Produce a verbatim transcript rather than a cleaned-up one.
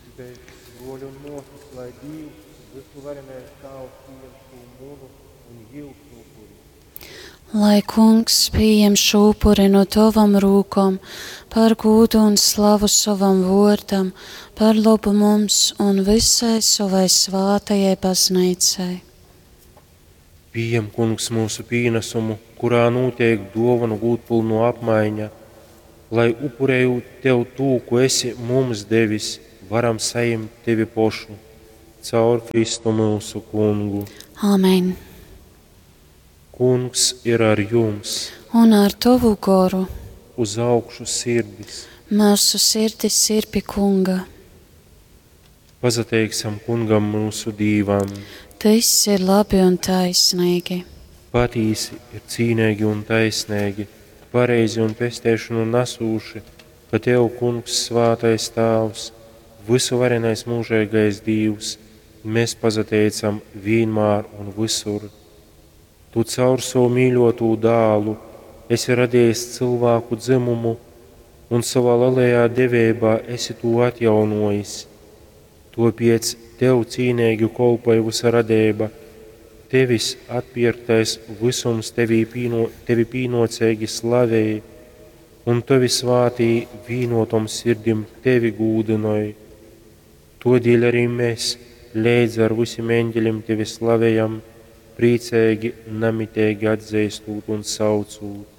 Lyugšitēs, bruoļi un muosys, lai Dīvs, vysuvarenais Tāvs, pījem šū munu un jiusu upuri. Lai Kungs pījem šū upuri no tovom rūkom par gūdu un slavu sovam vuordam, par lobu mums un visai sovai svātajai bazneicai. Pījem, Kungs, myusu pīnasumu, kurā nūteik duovonu gūdpylnuo apmaiņa, lai, upurejūt Tev tū, ko esi mums devis, varam sajimt Tevi pošu. Caur Kristu myusu Kungu. Āmen. Kungs ir ar jums! Un ar tovu goru. Uz augšu sirdis! Myusu sirdis ir pi Kunga. Pasateiksim Kungam myusu Dīvam! Tys ir labi un taisnīgi. Patīsi ir cīneigi un taisneigi, pareizi un pesteišonu nasūši, ka Tev, Kungs, svātais Tāvs, vysuvarenais mūžeigais Dīvs, mēs pasateicam vīnmār un vysur. Tu caur sovu mīļotū dālu esi radījis cylvāku dzimumu un savā lielajā deveibā esi tū atjaunojis. Topiec Tev cīneigi kolpoj vysa radeiba, Tevis atpierktais vysums tevī pīno, Tevi pīnuoceigi slavej, un Tovi svātī vīnotom sirdim Tevi gūdynoj. Todēļ arī mēs leidz ar visiem eņģeļiem Tevi slavējam, priecīgi, namiteigi atzīstot un saucot.